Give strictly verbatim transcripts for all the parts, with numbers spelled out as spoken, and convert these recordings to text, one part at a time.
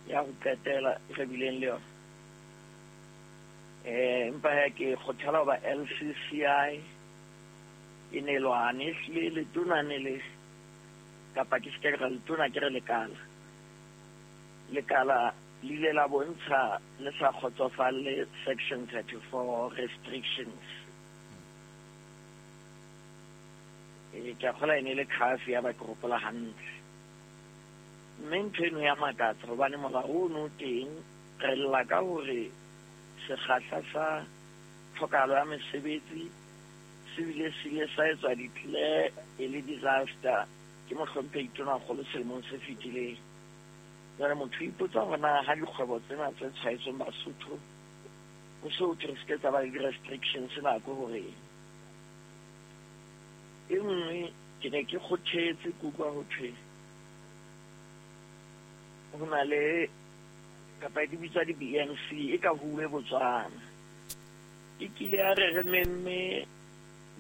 Ya ho qetela e re bileng le yona. Eh empa ha ke kgothala hoba L C C I e ne lwane ehlile letona ne le kapa ke se ke re letona ke re lekala. Lekala le ile la bontsha le sa kgotsofalle section thirty-four restrictions. E ke a kgolwa e ne le khafi ya ba ke hopola hantle. Mme ntho eno ya makatsa hobane molao ono o teng re lla ka hore sekgahla sa tlhokahalo ya mesebetsi se bile se ile sa etswa declare e le disaster ke mohlomphehi Tonakgolo selemong se fetileng. Jwale motho o ipotsa hore na ha dikgwebo tsena tse tshwaetsweng Basotho ho se ho thwe re se ke tsa ba le di-restrictions nako hore e nngwe ke ne ke kgothetse ke utlwa ho thwe ho na le kapa di bitswa di-B N C e ka huwe Botswana. E kile ya re re memme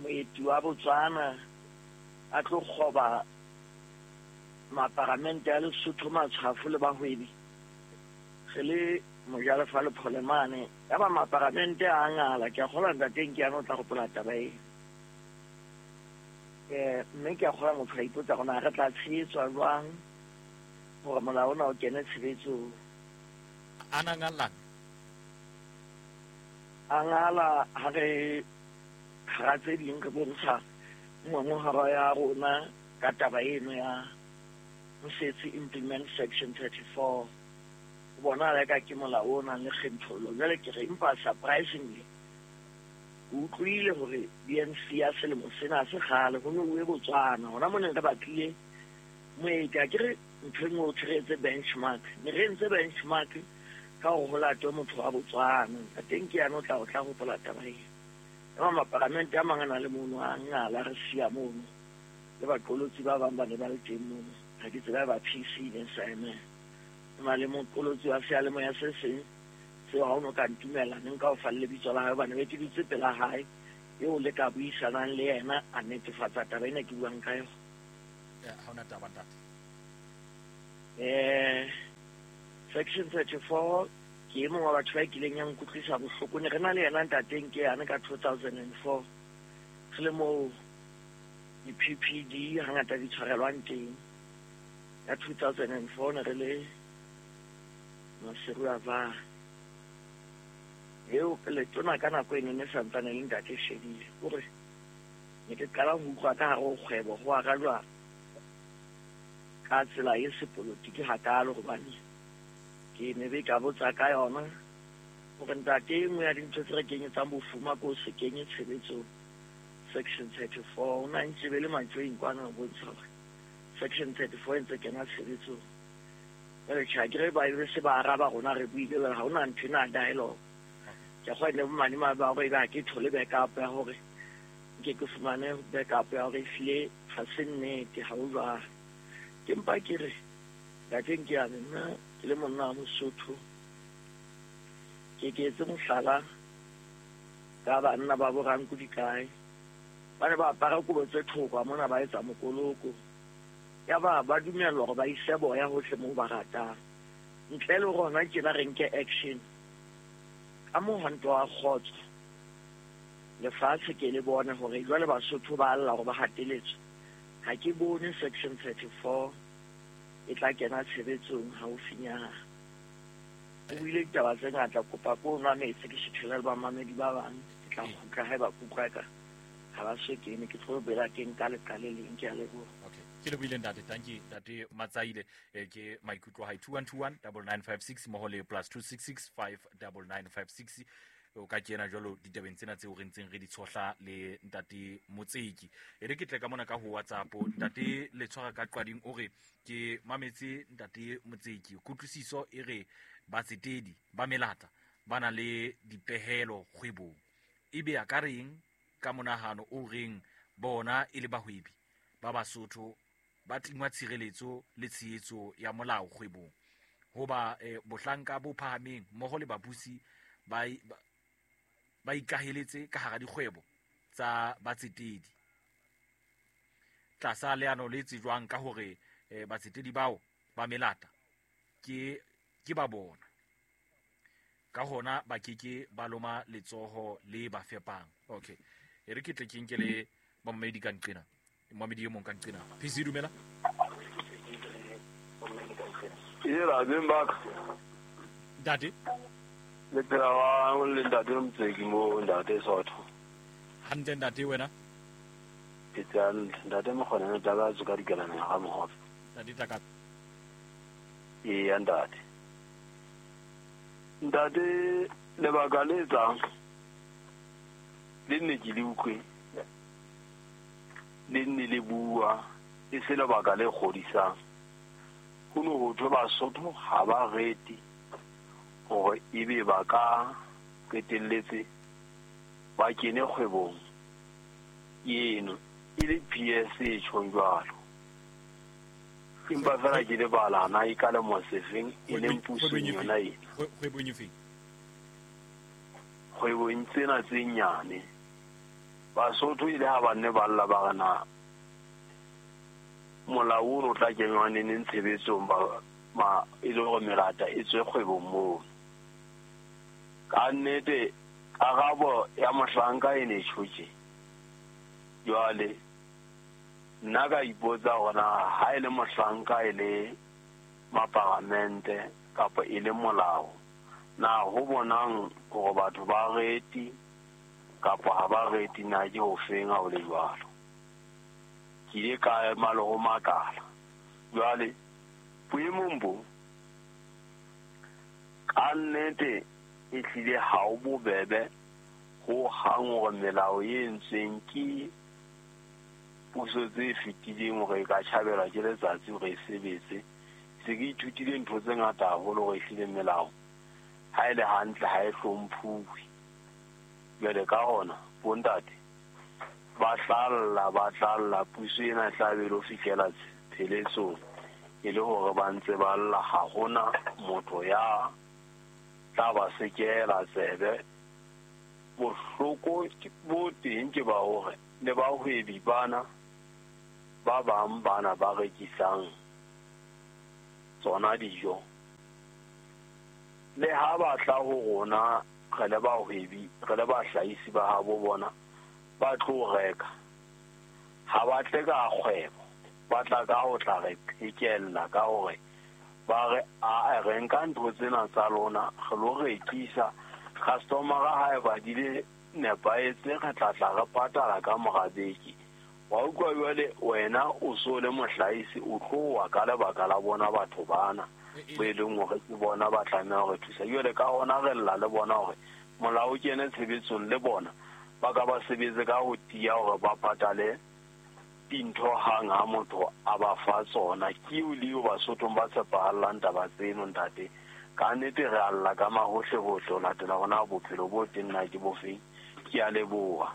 moeti wa Botswana a tlo kgoba maparamente a Lesotho matshwafo le bahwebi. Re le mojalefa le Pholemane, ya ba maparamente a ngala. Ke a kgolwa ntate Nkiane o tla hopola taba eo. Eh, mme ke a kgolwa motho a ipotsa hore na re tla tshehetswa jwang hore molao ona o kene tshebetsong. A na ngalang? A ngala ha re hara tse ding re bontsha ngongorego ya rona ka taba eno ya ho setse implement section thirty-four. Ho bonahala eka ke molao o nang le kgethollo. Jwale ke re empa surprisingly ke utlwile hore B N C ya selemo sena se kgale ho no uwe Botswana. Hona mona re batlile moeti, a ke re ntho e nngwe ho thwe re etse benchmark. Ne re entse benchmark ka hore ho latwe motho wa Botswana. Ntate Nkiane o tla o tla hopola taba eo. Ema maparamente a mang a na le mono a ngala re siya mono. Le baqolotsi ba bang ba ne ba le teng mono. Ha ke tsebe ba P C ne sa emela. Ho na le moqolotsi wa seyalemoya se seng seo ha o no ka ntumella ne nka o fa le lebitso la hae hobane be ke dutse pela hae eo le ka buisanang le yena a netefatsa taba ena ke buang ka yona. Eh, ha hona taba ntate. Eh, section thirty-four ke e mong wa batho ba kileng ya nkutlwisa bohloko. Ne re na le yena ntate Nkiane ka two thousand and four. Re le moo di-P P D hangata di tshwarelwang teng. Ka two thousand and four ne re le Maseru a ba. Eo letona ka nako eno ne santsane le ntate Shedile. Hore ne ke qala ho utlwa ka hare ho kgwebo ho arajwa ka tsela e sepolotiki hakalo hobane ke ne be ka botsa ka yona hore ntate e nngwe ya dintho tse re kenyetsang bofuma ko se kenye tshebetsong section thirty-four. O na ntse be le mantswe kwana ho bontsha hore section thirty-four e ntse kena tshebetsong. Jwale tjhe, ha ke re ba be se ba araba rona re buile jwale ha hona ntho ena dialogue. Ke a kgolwa le bomadimabe ba hore ebe ha ke thole backup ya hore nke ke fumane backup ya hore ehlile ha se nnete, ha ho jwalo. Ke mpa ke re ntate Nkiane, nna ke le monna wa Mosotho ke ke etse mohlala ka banna ba bo Ranko dikae. Ba ne ba apara kobo tse thokwa mona ba etsa mokoloko. Ya ba ba dumellwa hore ba ise boya hohle moo ba ratang. Ntle le rona tjena re nke action. Ka mohwanto wa kgotso lefatshe ke le bone hore jwale Basotho ba lla hore ba hateletswe. Ha ke bone section thirty-four e tla kena tshebetsong haufinyana. O buile ditaba tse ngata, kopa ko nwa metsi ke sethela le bamamedi ba bang. Ke tla kgutla haeba ke utlwa eka ha ba so kene, ke tlo bela ke nka leqa le leng. Ke a leboha. Okay. Ke lebohile ntate. Thank you ntate Matsaile. Eh, ke maikutlo a hae. two one two one double nine five six mmoho le plus two six six five double nine five six. O ka kena jwalo ditabeng tsena tseo re ntseng re di tshohla le ntate Motseki. E re ke tle ka mona ka ho WhatsApp. Ntate Letshwara ka Qwading o re ke mametse ntate Motseki. Kutlwisiso e re batsetedi ba melata ba na le dipehelo kgwebong. Ebe a ka reng ka monahano o reng bona e le bahwebi ba Basotho ba tingwa tshireletso le tshehetso ya molao kgwebong. Hoba, eh, bohlanka bo phahameng mmoho le babusi ba i-, ba, ba ikaheletse ka hara dikgwebo tsa batsetedi. Tlasa leano le tsejwang ka hore, eh, batsetedi bao ba melata ke ke ba bona. Ka hona ba keke ba loma letsoho le ba fepang. Okay. E re ke tle ke nke le momedi ka nqena. Momedi e mong ka nqena. P C dumela. Yela beng ba. Ntate. Le phela wa le ntate Mtseki mo ntate Sotho. Hantle ntate wena? Ke tsang ntate Mokgona ne tla ba tsoka dikelana ga mohope. Ntate tla ka. Ee ntate. Ntate lebaka le tsang le nne ke le utlwe le nne le bua e se lebaka le kgodisang. Ho no ho thwe Basotho ha ba rete hore ebe ba ka qetelletse ba kene kgwebong eno e le P S e tjhong jwalo. Empa fela ke lebala na e ka le mosefeng e leng pusong yona ena. Kgwebong efe? Kgwebong tsena tse nyane. Basotho ile ha ba nne ba lla ba re na molao o tla kenywa neneng tshebetsong ba ma e le hore melata e tswe kgwebong moo. Ka nnete karabo ya mohlanka e ne tjhotje. Jwale nna ka ipotsa hore na ha e le mohlanka e le maparamente kapa e le molao na ho bonang hore batho ba reti kapa ha ba reti na ke ho feng ha o le jwalo. Ke ile ka ema le ho makala. Jwale boemong bo ka nnete e hlile ha o bobebe ho hang hore melao e entsweng ke puso tse fetileng hore e ka tjhabelwa ke letsatsi hore e sebetse. Se ke ithutile ntho tse ngata haholo hore ehlile melao ha e le hantle ha e hlomphuwe. Jwale ka hona bontate ba tlalla ba tlalla puso ena e tla be lo fihlela pheletsong e le hore ba ntse ba lla ha hona motho ya tla ba sekela tsebe. Bohloko bo teng ke ba hore le bahwebi bana ba bang bana ba rekisang tsona dijo le ha ba tla ho rona re le bahwebi re le bahlahisi ba habo bona ba tlo reka ha ba tle ka kgwebo ba tla ka ho tla re phekella ka hore ba re a re nka ntho tsena tsa lona re lo rekisa customer ha e ba dile nepahetse re tla tla re patala ka mora beke. Wa utlwa jwale wena o so le mohlahisi o tloha ka lebaka la bona batho bana bo e leng hore ke bona ba tlameha hore thusa. Jwale ka hona re lla le bona hore molao o kene tshebetsong le bona ba ka ba sebetse ka ho tiya hore ba patale dintho hang ha motho a ba fa tsona. Ke eo le eo Basothong ba tshepahallang taba tseno ntate. Ka nnete re alla ka mahohle hohle ho latela hona bophelo bo teng na ke bofeng. Ke a leboha.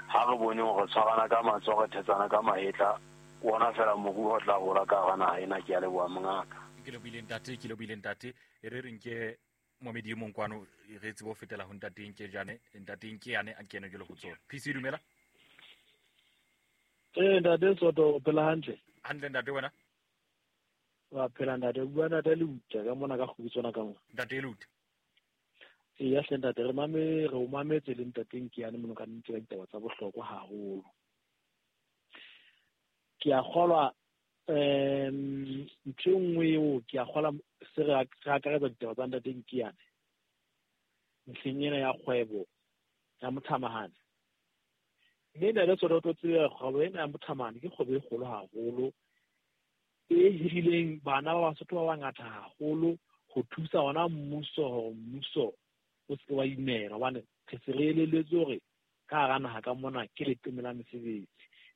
Ha re bone hore tshwarana ka matsoho re thetsana ka mahetla wona fela moruo o tla hola ka hara naha ena. Ke a leboha mongaka. Ke lebohile ntate, ke lebohile ntate. E re re nke momedi e mong kwano re tsebe ho fetela ho ntate Nke jane, ntate Nke yane a kene jwalo ho tsona. P C dumela. Eh ntate Soto o phela hantle. Hantle ntate wena? Wa phela ntate, bua ntate Lutha ka mona ka kgubitswana ka mona. Ntate Lutha. Eya hle ntate re mame re o mametse le ntate Nke yane mono ka nnete ka ditaba tsa bohlokwa haholo. Ke a kgolwa um ntho e nngwe eo ke a kgolwa se re akaretsa ditaba tsa ntate Nke yane ntlheng ena ya kgwebo ya mothamahane. Mme ntate Soto o tlo tseba kgwebo ena ya mothamahane ke kgwebo e kgolo haholo e hirileng bana ba Basotho ba bangata haholo ho thusa ona mmuso hore mmuso o se wa imela hobane re se re elelletswe hore ka hara naha ka mona ke leqeme la mesebetsi.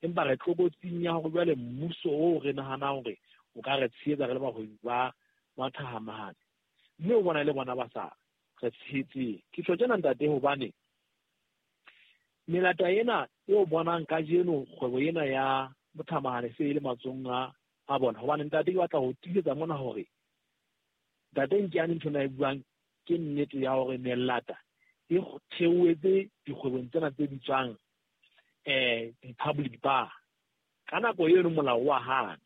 Empa re tlokotsing ya hore jwale mmuso oo re nahanang hore o ka re tshehetsa re le bahwebi ba mathahamahane mme o bona le bona ba sa re tshehetseng. Ke tjho tjena ntate hobane melata ena eo bonang kajeno kgwebo ena ya mothamahane se e le matsohong a a bona. Hobane ntate ke batla ho tiisetsa mona hore ntate Nke yane ntho ena e buang ke nnete ya hore melata e theohetse dikgwebong tsena tse bitswang eh di-public bar. Ka nako eno molao wa hana.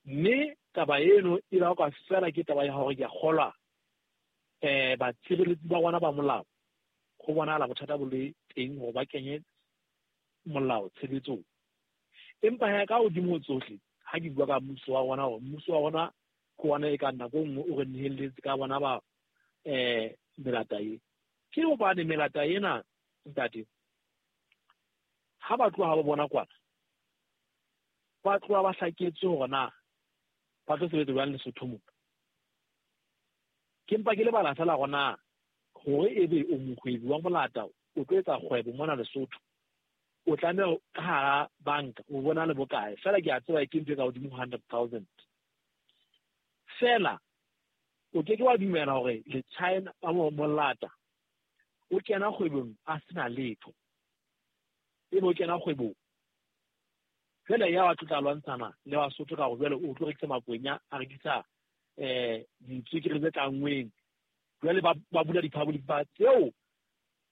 Mme Taba eno e bakwa fela ke taba ya hore ke a kgolwa um batshireletsi ba rona ba molao go bonahala bothata bo le teng hore ba kenye molao tshebetsong. Empa he ka hodimo ho tsohle ha ke bua ka mmuso wa rona hore mmuso wa rona ke ona e ka nako e nngwe o re nehelletse ka bona ba um melata e. Ke hobane melata ena ntate ha ba tloha ba bona kwana ba tloha ba hlaketswe hore na ba tlo sebetsa jwang Lesotho mona. Ke mpa ke lebala fela hore na hore ebe o mohwebi wa molata o tlo etsa kgwebo mona Lesotho o tlameha ka hara banka o bona le bokae fela ke a tseba ke ntho e ka hodimo ho hundred thousand. Fela o ke ke wa dumela hore le China ba molata o kena kgwebong a sena letho ebe o kena kgwebong fela ya wa tla lwantshana le Basotho ka hore jwale o tlo rekisa makwenya a rekisa um ditswekere tse tlanngweng jwale ba bula di-public bar tseo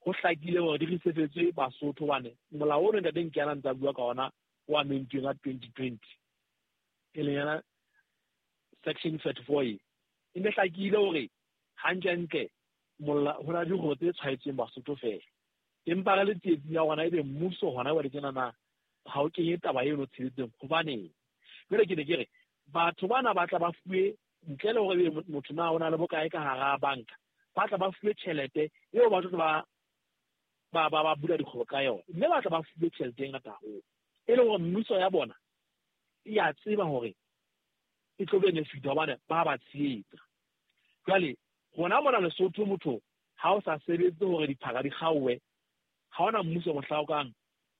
ho hlakile hore di resefetswe Basotho hobane molao ono ntate Nkiana ntse a bua ka ona o amendilweng ka twenty twenty e leng yona section thirty-four e e ne hlakile hore hantlentle ho na le dikgwebo tse tshwaetsweng Basotho fela. Empa re le tsietsing ya rona ebe mmuso hona jwale tjenana ha o kenye taba eno tshebetsong hobaneng. Jwale ke ne ke re batho bana ba tla ba fuwe ntle le hore ebe motho na o na le bokae ka hara banka ba tla ba fuwe tjhelete eo ba tlo ba ba ba ba bula dikgwebo ka yona mme ba tla ba fuwe tjhelete e ngata haholo e leng hore mmuso ya bona e a tseba hore e tlo benefit hobane ba ba tshehetsa. Jwale rona mona Lesotho motho ha o sa sebetse hore diphaka di kgaowe ha ona mmuso mohla o kang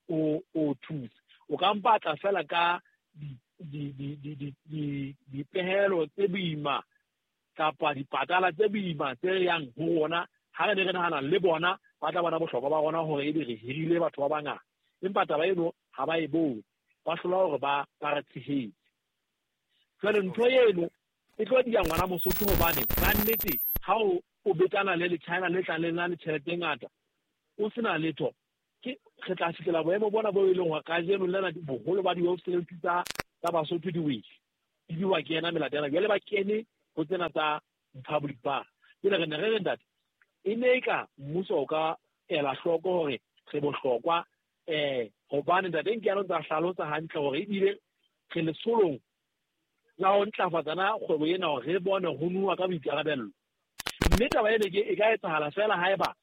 o o thuse. O ka mpatla fela ka di di di di di dipehelo tse boima kapa dipatala tse boima tse yang ho rona ha re ne re nahana le bona ba tla bona bohlokwa ba rona hore ebe re hirile batho ba bangata. Empa taba eno ha ba e bone ba hlola hore ba ba re tshehetse. Jwale ntho eno e tlo dia ngwana Mosotho hobane ka nnete ha o o betana le le China le tlang le na le tjhelete e ngata o sena letho ke re tla fihlela boemo bona bo e leng hore kajeno lena boholo ba di-website tsa tsa Basotho di wele di biwa ke ena melata ena jwale ba kene ho tsena tsa public bar. Jwale re ne re re ntate e ne e ka mmuso o ka ela hloko hore re bohlokwa um hobane ntate Nkiana o ntse a hlalosa hantle hore ebile re letsholong la ho ntlafatsa na kgwebo ena hore re bone ho nuwa ka boikarabello. Mme taba ena ke e ka etsahala fela haeba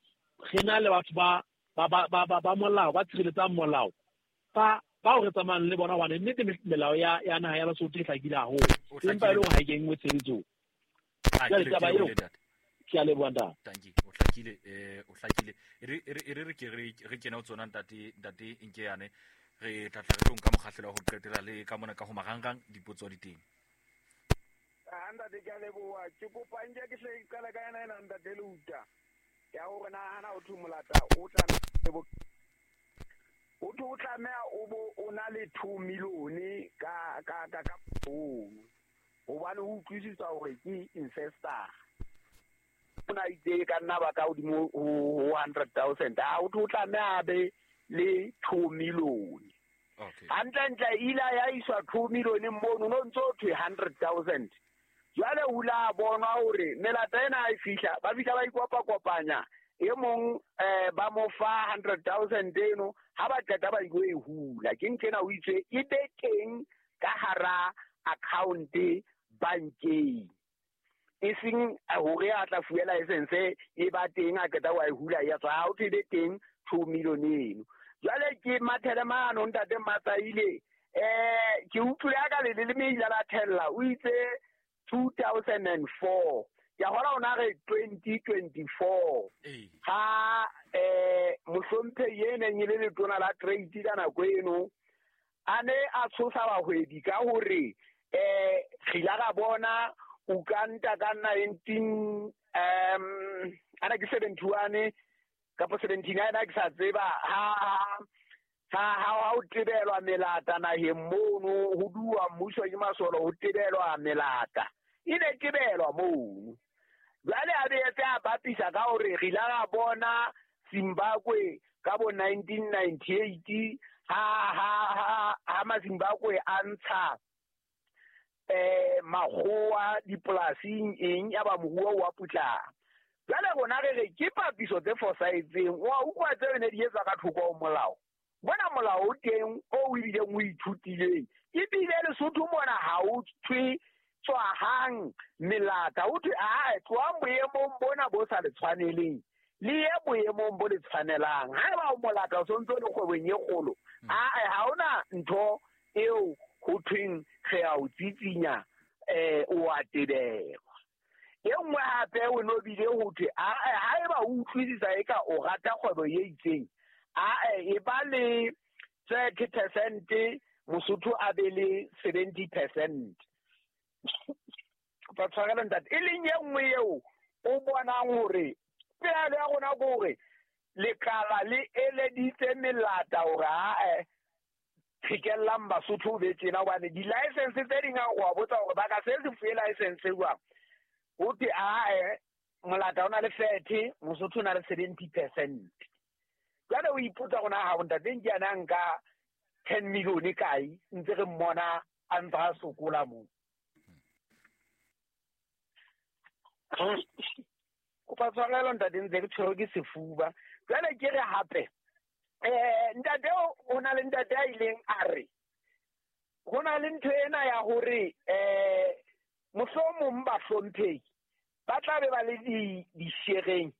re na le batho ba ba ba ba ba molao ba tshireletsang molao ba bao re tsamayang le bona hobane nnete melao ya ya naha ya Lesotho e hlakile haholo empa e le hore ha e kenngwe tshebetsong. Jwale taba eo ke a leboha ntate. Tanki o hlakile eh o hlakile e re e re ke re re kene ho tsona ntate ntate Nkiane re tla tla re tlo nka mokgahlelo wa ho qetela le ka mona ka ho marangrang dipotso di teng. Ah ntate ke a leboha ke kopa nke ke hle ke qala ka yena ena ntate Leuta ya hore na hana o thwe molata o tla o thwe o tlameha o bo o na le two million ka ka ka ka phone hobane o utlwisisa hore ke investor o na itse ka nna ba ka hodimo ho hundred thousand ha o thwe o tlameha be le two million. Okay. Hantlentle ila ya iswa two million mono no ntso thwe hundred thousand. Jwale o la bonwa hore melata ena e fihla ba fihla ba ikopa kopanya e mong eh ba mo fa hundred thousand eno ha ba qeta ba ilo e hula ke ntena o itse e be teng ka hara account bankeng e seng hore a tla fuwe license e ba teng a qeta wa e hula ya tswa ha o be teng two million eno. Jwale ke mathele mano ntate Matsaile eh ke utlwile ka le le meila la thella o itse two thousand four ya hora ona re twenty twenty-four ha eh mohlomphehi e neng e le letona la trade ka nako eno a ne a tshosa bahwebi ka hore eh re ile ra bona Uganda ka nineteen um ana ke seventy-one kapo seventy-nine a ke sa tseba ha ha ha ho tebelwa melata naheng mono ho duwa mmuso ke masolo ho tebelwa melata e ne tebelwa mono. Jwale a be a bapisa ka hore re ile ra bona Zimbabwe ka bo nineteen ninety-eight ha ha ha ha ma Zimbabwe a ntsha eh makgowa dipolasing eng ya ba moruo wa putlama. Jwale rona re re ke papiso tse fosahetseng, wa utlwa tseo ne di etswa ka thoko ho molao. Bona molao o teng o o ebileng o ithutileng, ebile Lesotho mona ha o thwe tswahang melata, o thwe ae tlohang boemong bona bo sa le tshwaneleng le ye boemong bo le tshwanelang. Haeba o molata o sontso le kgwebong e kgolo, ae ha hona ntho eo ho thweng re a o tsitsinya eh o a tebelwa. E nngwe hape o no bile ho thwe ae haeba o utlwisisa eka o rata kgwebo e itseng, ae e ba le thirty percent Mosotho a be le seventy percent. Ba tshwarelo ntate, e leng e nngwe eo o bonang hore pehelo ya rona ke hore lekala le eleditse melata hore ae qhekellang Basotho be tjena, hobane di-license tse ding a wa botsa hore ba ka se se fuwe license jwang, ho thwe ae molata o na le thirty, Mosotho o na le seventy percent. Jwale o ipotsa rona ha ntate nke yana nka ten million kae ntse re mmona a ntse a sokola moo. Kopa tshwarelo ntate, ntse ke tshwerwe ke sefuba. Jwale ke re hape eh ntate o na le ntate a ileng a re ho na le ntho ena ya hore eh mohlomong bahlomphehi ba tla be ba le di dishereng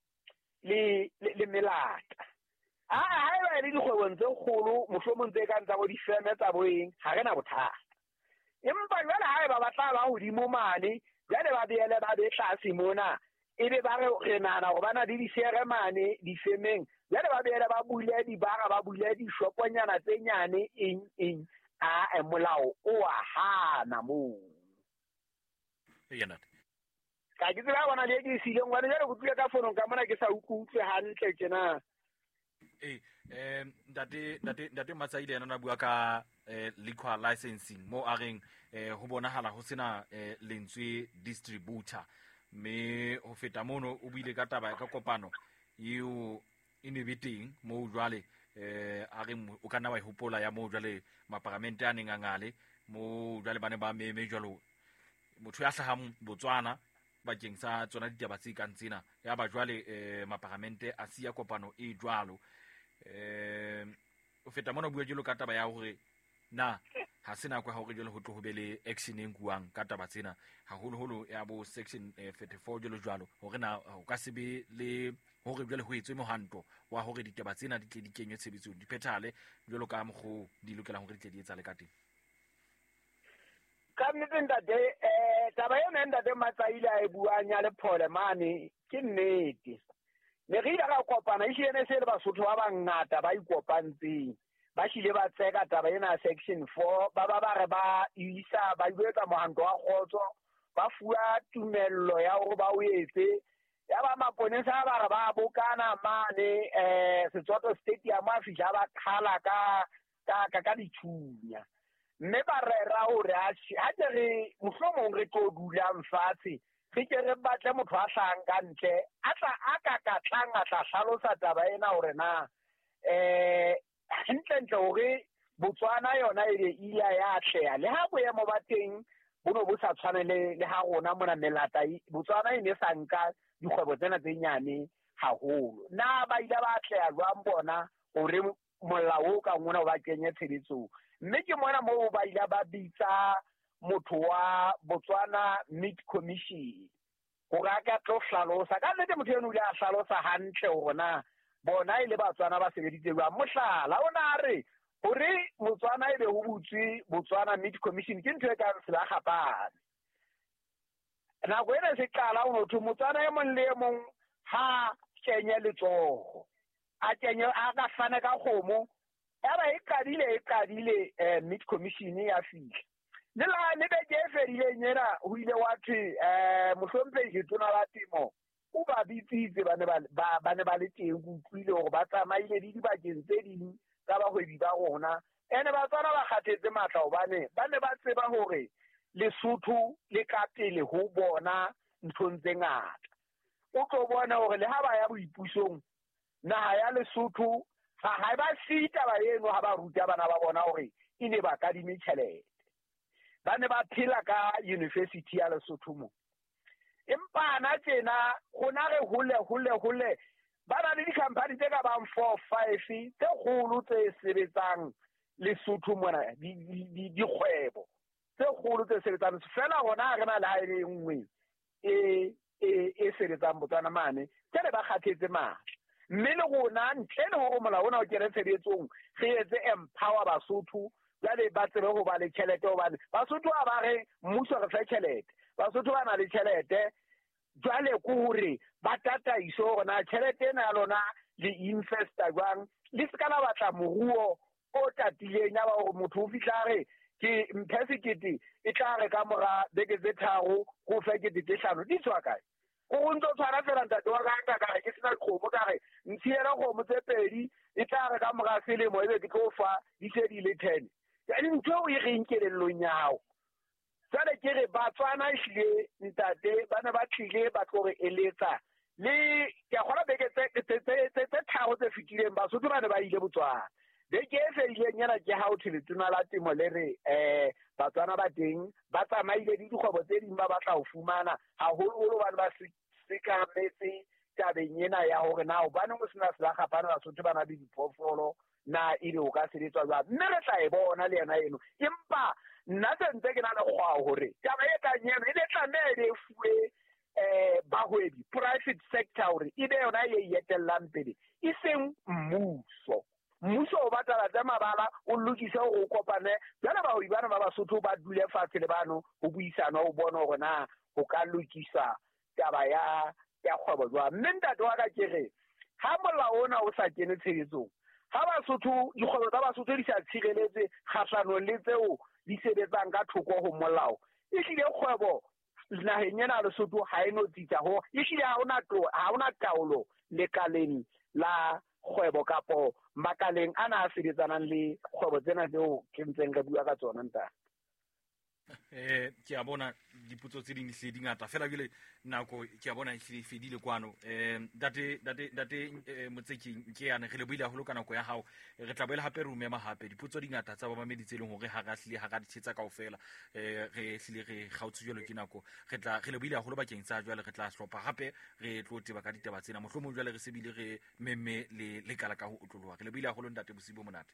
le le melata. Ah haeba e le dikgwebong tse kgolo mohlomong tse kang tsa bo difeme tsa boeng ha re na bothata, empa jwale haeba ba tla ba hodimo mane jwale ba beele ba be tlase mona, ebe ba re re nahana hore ba na le dishere mane difemeng, jwale ba beele ba bule dibara ba bule dishoponyana tse nyane eng eng, a molao o a hana moo. Eya ntate, ka ke tseba bona le ke sileng hobane jwale ke tlile ka fonong ka mona ke sa utlwe hantle tjena. Eh eh ntate ntate ntate Matsaile yena na bua ka eh liquor licensing mo a reng eh ho bonahala ho sena eh lentswe distributor, mme ho feta mono o buile ka taba ka kopano eo e ne be teng mo jwale eh a reng o kana wa hopola ya mo jwale maparamente a neng a ngale mo jwale bane ba meme jwalo motho ya hlahang Botswana bakeng sa tsona ditaba tse kang tsena ya ba jwale eh maparamente a siya kopano e jwalo. Eh o feta mona bua jelo ka taba ya hore na ha sena kwa hore jwale ho tlo ho be le action e nkuwang ka taba tsena haholoholo ya bo section thirty-four jwalo jwalo, hore na o ka se be le hore jwale ho etswe mohanto wa hore ditaba tsena di tle di kenywe tshebetsong di phethale jwalo ka mokgo di lokelang hore di tle di etsale ka teng. Ka nnete ntate eh taba ena ntate Matsaile a e buang ya Lephole mane ke nnete. Ne re ile ra kopana ehlile ne se le Basotho ba bangata ba ikopantseng, ba hlile ba tseka taba ena section four, ba ba ba re ba isa ba etsa mohanto wa kgotso, ba fuwa tumello ya hore ba o etse. Ya ba maponesa ba re ba bokana mane eh Setswato Stadium a fihla ba qhala ka ka ka dithunya, mme ba rera hore ha ke re mohlomong re tlo dulang fatshe re ke re batle motho a hlahang ka ntle a tla a ka ka tlang a tla hlalosa taba ena hore na eh hantlentle hore Botswana yona e be ile ya atleha le ha boemo ba teng bo no bo sa tshwane le le ha rona mona melata. Botswana e ne sa nka dikgwebo tsena tse nyane haholo, na ba ile ba atleha jwang bona hore molao o ka ngona o ba kenye tshebetsong? Mme ke mona moo ba ile ba bitsa motho wa Botswana Meat Commission hore a ka tlo hlalosa. Ka nnete motho eno o ile a hlalosa hantle hore na bona e le Batswana ba sebeditse jwang. Mohlala o na re hore Botswana e be ho butswe Botswana Meat Commission ke ntho e kang selakgapane. Nako ena se qala ho thwe Motswana e mong le e mong ha kenye letsoho, a kenye a ka fana ka kgomo. Ya ba e qadile e qadile eh Meat Commission ya fihla. Le la le beke e fedileng ena ho ile wa thwe eh mohlomphehi Letona la Temo o ba bitsitse ba ne ba ba ne ba le teng, ke utlwile hore ba tsamaile le dibakeng tse ding tsa bahwebi ba rona. Ene Batswana ba kgathetse matla hobane ba ne ba tseba hore Lesotho le ka pele ho bona nthong tse ngata. O tlo bona hore le ha ba ya boipusong naha ya Lesotho ha ha ba siye taba eno ha ba ruta bana ba bona hore e ne ba kadime tjhelete. Ba ne ba phela ka university ya Lesotho mo. Empa ana tjena rona re hole hole hole ba na le di-company tse ka bang four five tse kgolo tse sebetsang Lesotho mona, dikgwebo tse kgolo tse sebetsang fela. Rona ha re na le ha e le nngwe e e e sebetsang Botswana mane, jwale ba kgathetse matla. Mme le rona ntle le hore molao ona o kene tshebetsong, re etse empower Basotho, jwale ba tsebe ho ba le tjhelete, hobane Basotho ha ba re mmuso re fe tjhelete, Basotho ba na le tjhelete. Jwale ke hore ba tataiso hore na tjhelete ena ya lona le investa jwang, le se ka la batla moruo o tatileng ya ba hore motho o fihla re ke mphe sekete, e tla re ka mora beke tse tharo ko fe kete tse hlano, di tswa kae? O ntso tshwana fela ntate wa ka ka re ke sena kgomo, ka re ntshiela kgomo tse pedi, e tla re ka mora selemo ebe ke tlo fa di se di le ten. Jwale ntho eo e reng kelellong ya hao. Jwale ke re Batswana ehlile ntate ba ne ba tlile ba tlo re eletsa le ke a kgolwa beke tse tse tharo tse fetileng Basotho ba ne ba ile Botswana. Beke e fedileng ena ke ha ho thwe letona la temo le re eh Batswana ba teng ba tsamaile le dikgwebo tse ding ba batla ho fumana haholoholo hobane ba sekametse tabeng ena ya hore na hobaneng ho sena selakgapane Basotho ba na le diphoofolo, na ebe o ka sebetswa jwang. Mme re tla e bona le yena eno, empa nna se ntse ke na le kgwao hore taba e kang eno e ne tlameha e be e fuwe eh bahwebi, private sector, hore e be yona e etellang pele, e seng mmuso. Mmuso o batla tsa mabala o lokise hore o kopane jwale bahwebi bana ba Basotho ba dule fatshe le bano ho buisana ho bona hore na ho ka lokisa taba ya ya kgwebo jwang. Mme ntate wa ka ke re ha molao ona o sa kene tshebetsong, ha Basotho dikgwebo tsa Basotho di sa tshireletse kgahlanong le tseo di sebetsang ka thoko ho molao, ehlile kgwebo naheng ena ya Lesotho ha e no tsitsa ho, ehlile ha hona ha hona taolo lekaleng la kgwebo kapo makaleng ana a sebetsanang le kgwebo tsena tseo ke ntseng re bua ka tsona ntate. Eh ke a bona dipotso tse ding di hle di ngata fela jwale nako ke a bona e hlile e fedile kwano. Eh ntate ntate ntate Motseki ke yana re le buile haholo ka nako ya hao, re tla boela hape re o mema hape. Dipotso di ngata tsa bamamedi tse leng hore ha ra hlile ha ra di thetsa kaofela, eh re hlile re kgaotse jwalo ke nako. Re tla re le buile haholo bakeng tsa jwale, re tla hlopha hape re tlo teba ka ditaba tsena, mohlomong jwale re sebile re memme le lekala ka ho otloloha. Re le buile haholo ntate, bosiu bo monate.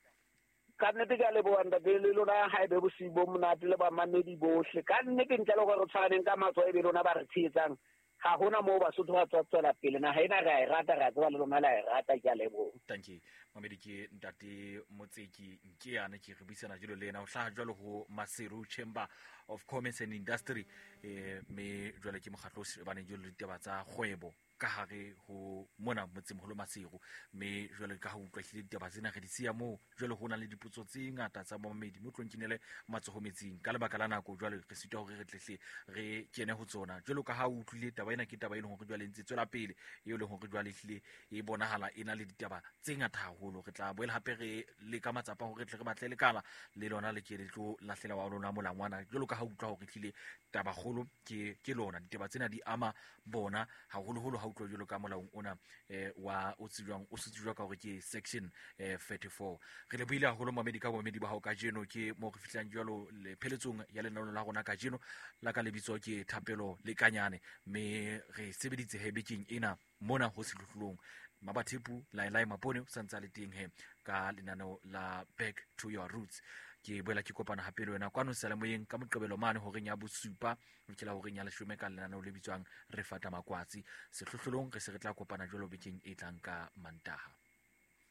Ka nnete ke a leboha ntate, le lona ha ebe bosiu bo monate le bamamedi bohle. Ka nnete ntle le hore re tshwaneng ka matsoho ebe lona ba re tshehetsang, ha hona moo Basotho ba tswa tswela pele. Naha ena re a e rata, re a tseba le lona le a e rata. Ke a leboha. Thank you. Mamedi ke ntate Motseki Nkeane, ke re buisana jalo le ena, o hlaha jwalo ho Maseru Chamber of Commerce and Industry, eh me jwale ke mokgatlo o shebaneng jwalo le ditaba tsa kgwebo ka hare ho mona motsemoholo Maseru. Mme jwale ka ha utlwa hlile ditaba tsena re di siya moo, jwale ho na le dipotso tse ngata tsa bamamedi mo tlong kinele matsoho metsing ka lebaka la nako, jwale re sitwa hore re tlehle re kene ho tsona. Jwalo ka ha o utlwile taba ena ke taba e leng hore jwale ntse tswela pele, eo leng hore jwale hlile e bonahala e na le ditaba tse ngata haholo. Re tla boela hape re leka matsapa hore re tle re batle lekala le lona le ke le tlo lahlela wa lona molangwana, jwalo ka ha utlwa hore hlile taba kgolo ke ke lona ditaba tsena di ama bona haholoholo ha utlwa jwalo ka molaong ona eh wa o tsejwang o setsejwa ka hore ke section eh thirty-four. Re le buile haholo mamedi ka bomedi ba hao kajeno, ke mo re fihlang jwalo le pheletsong ya lenaneo la rona kajeno la ka lebitso ke Thapelo Lekanyane, mme re sebeditse he bekeng ena mona ho sehlohlolong. Mabathepu Lailai Mapone o santse le teng he ka lenaneo la Back to Your Roots. Ke boela ke kopana hape le wena kwano seyalemoyeng ka Moqebelo mane horeng ya bosupa ho fihlela horeng ya leshome ka lenaneo le bitswang Re Fata Makwatsi. Sehlohlolong re se re tla kopana jwalo bekeng e tlang ka Mantaha.